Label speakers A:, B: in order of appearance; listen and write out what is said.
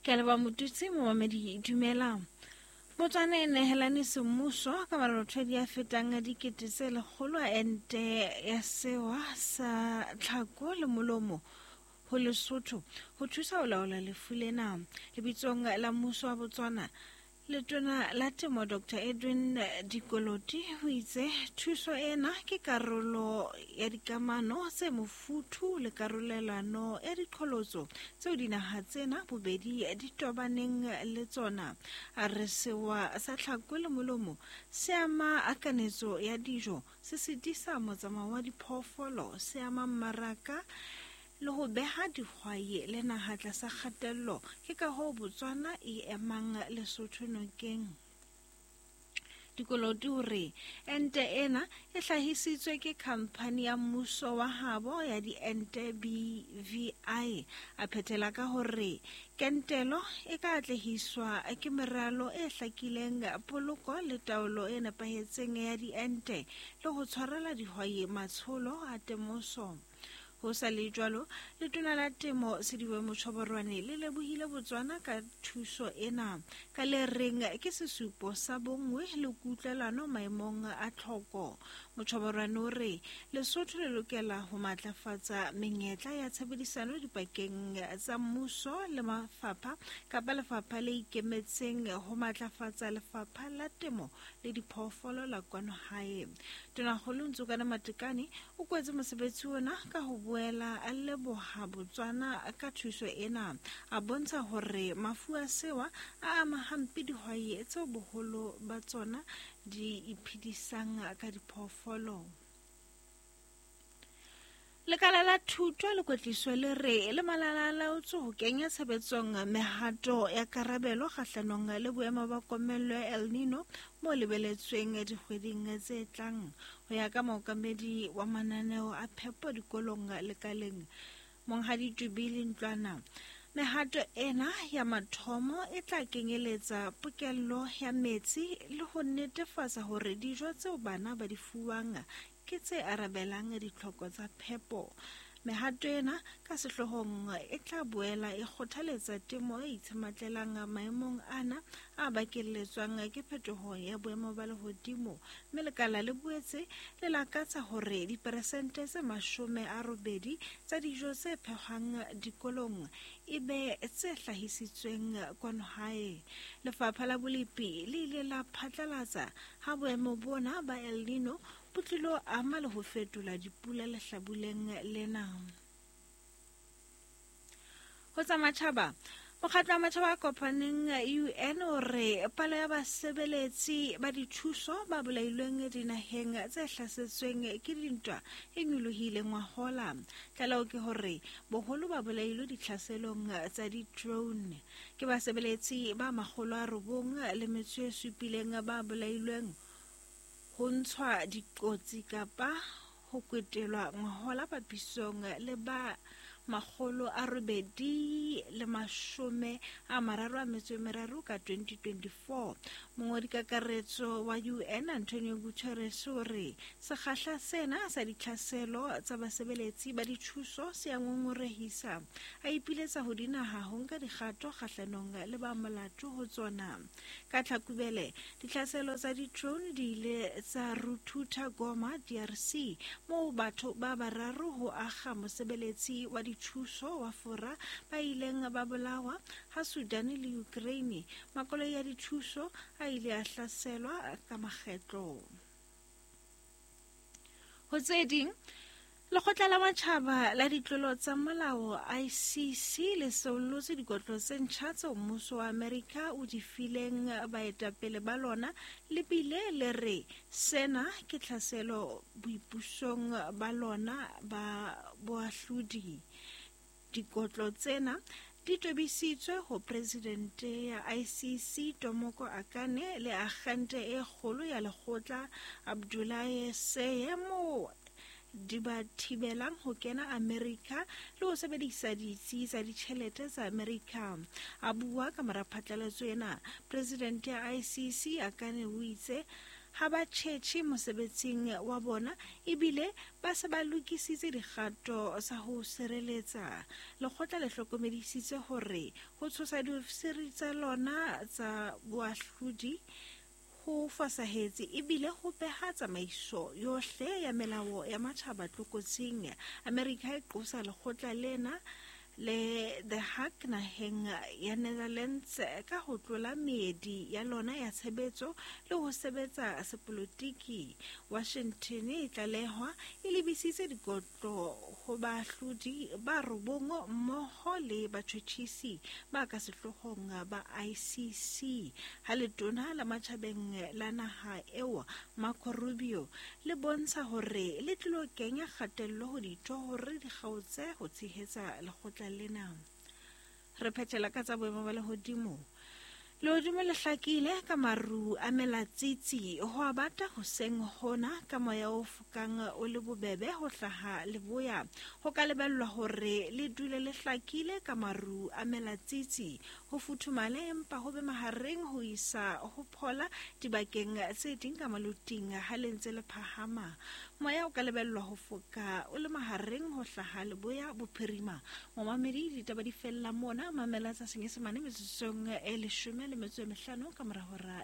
A: Ke a leboha Motutsi, momamedi dumela. Botswana e nehelane semmuso ka marothodi a fetang 100,000 a ente ya sewa sa tlhako le molomo ho Lesotho ho thusa ho laola lefu lena. Lebitsong la mmuso wa Botswana, Letona la Temo Dr Edwin Dikoloti o itse thuso ena ke karolo ya dikamano tse mofuthu le karolelano ya diqholotso tseo dinaha tsena bobedi di tobaneng le tsona. A re sewa sa tlhako le molomo se ama kanetso ya dijo, se sitisa motsamao wa diphoofolo, se ama mmaraka le ho beha dihwai le naha tlasa kgatello. Ke ka hoo Botswana e emang Lesotho nokeng. Dikoloti o re ente ena e hlahisitswe ke khamphani ya mmuso wa habo ya diente BVI. A phethela ka hore kentelo e ka atlehiswa ke meralo e hlakileng, poloko le taolo e nepahetseng ya diente le ho tshwarela dihwai matsholo a temoso. Ho sa le jwalo, Letona la Temo Sedibe Mochoborwane le lebohile Botswana ka thuso ena, ka le reng ke sesupo sa bonngwe le kutlwelano maemong a tlhoko. Mochoborwane o re Lesotho le lokela ho matlafatsa menyetla ya tshebedisano dipakeng tsa mmuso le mafapha kapa lefapha le ikemetseng ho matlafatsa lefapha la temo le diphoofolo la kwano hae. Tonakgolo Ntsokane Matekane o kwetse mosebetsi ona ka ho boela a leboha Botswana ka thuso ena, a bontsha hore mafu a sewa a ama hampe dihwai tseo boholo ba tsona di iphedisang ka diphoofolo. Lekala la thuto le kwetliso le re le malala-a-laotswe ho kenya tshebetsong mehato ya karabelo kgahlanong le boemo ba komello ya El Nino bo lebeletsweng dikgweding tse tlang. Ho ya ka mookamedi wa mananeo a phepo dikolong lekaleng, Monghadi Tubili Ntlwana, mehato ena ya mathomo e tla kenyeletsa pokello ya metsi le ho netefatsa hore dijo tseo bana ba di fuwang ke tse arabelang ditlhoko tsa phepo. Mehato ena ka sehloohong e tla boela e kgothaletsa temo e itshematlelang maemong ana a bakelletswang ke phetoho ya boemo ba lehodimo, mme lekala le boetse le lakatsa hore diperesente tse 80 tsa dijo tse phehwang dikolong e be tse hlahisitsweng kwano hae. Lefapha la Bolepi le ile la phatlalatsa ha boemo bona ba El Nino bo tlilo ama le ho fetola dipula lehlabuleng lena. Ho tsa matjhaba, Mokgatlo wa Matjhaba a Kopaneng UN o re palo ya basebeletsi ba dithuso ba bolailweng dinaheng tse hlasetsweng ke dintwa e nyolohile ngwahola. Tlaleho ke hore boholo ba bolailwe ditlhaselong tsa di-drone. Ke basebeletsi ba 907 ba bolailweng ho ntshwa dikotsi kapa ho kwetelwa ngwahola papisong le ba 833 ka 2024. Mongodi kakaretso wa UN Antonio Guterres o re sekgahla sena sa ditlhaselo tsa basebeletsi ba dithuso se a ngongorehisa, a ipiletsa ho dinaha ho nka dikgato kgahlanong le ba molato ho tsona. Ka Tlhakubele, ditlhaselo tsa di-drone di ile tsa ruthutha Goma, DRC, moo batho ba bararo ho akga mosebeletsi wa dithuso wa Fora ba ileng ba bolawa, ha Sudan le Ukraine makoloi a dithuso a ile a hlaselwa ka makgetlo. Ho tse ding, Lekgotla la Matjhaba la Ditlolo tsa Molao, ICC, le seollotse dikotlo tse ntjha tseo mmuso wa Amerika o di fileng baetapele ba lona le bile le re sena ke tlhaselo boipusong ba lona ba boahlodi. Dikotlo tsena di tobisitswe ho Presidente ya ICC Tomoko Akane le akgente e kgolo ya lekgotla Abdoulaye Seye moo di ba thibelang ho kena Amerika le ho sebedisa ditsi tsa ditjhelete tsa Amerika. A bua ka mora phatlalatso ena, Presidente ya ICC Akane o itse, ha ba tjhetjhe mosebetsing wa bona ebile ba se ba lokisitse dikgato tsa ho sireletsa. Lekgotla le hlokomedisitse hore ho tshosa diofisiri tsa lona tsa boahlodi ho fosahetse ebile ho beha tsamaiso yohle ya melao ya matjhaba tlokotsing. Amerika e qosa lekgotla lena le The Hague naheng ya Netherlands ka ho tlola meedi ya lona ya tshebetso le ho sebetsa sepolotiki. Washington e tlalehwa e lebisitse dikotlo ho baahlodi ba robong mmoho le batjhotjhisi ba ka sehloohong ba ICC. Ha letona la matjhabeng la naha eo Marco Rubio le bontsha hore le tlilo kenya kgatello ho ditho hore di kgaotse ho tshehetsa lekgotla lena. Re phethela ka tsa boemo ba lehodimo. Lehodimo le hlakile ka maru a melatsitsi ho a bata hoseng hona ka moya o fokang o le bobebe ho hlaha leboya. Ho ka lebellwa hore le dule le hlakile ka maru a melatsitsi ho futhumale empa ho be mahareng ho isa ho phola dibakeng tse ding ka maloting ha le ntse le phahama. Moya o ka lebellwa ho foka o le mahareng ho hlaha leboya bophirima. Momamedi, ditaba di fella mona. Mamela tsa Senyesemane metsotsong e 15 ka mora hora.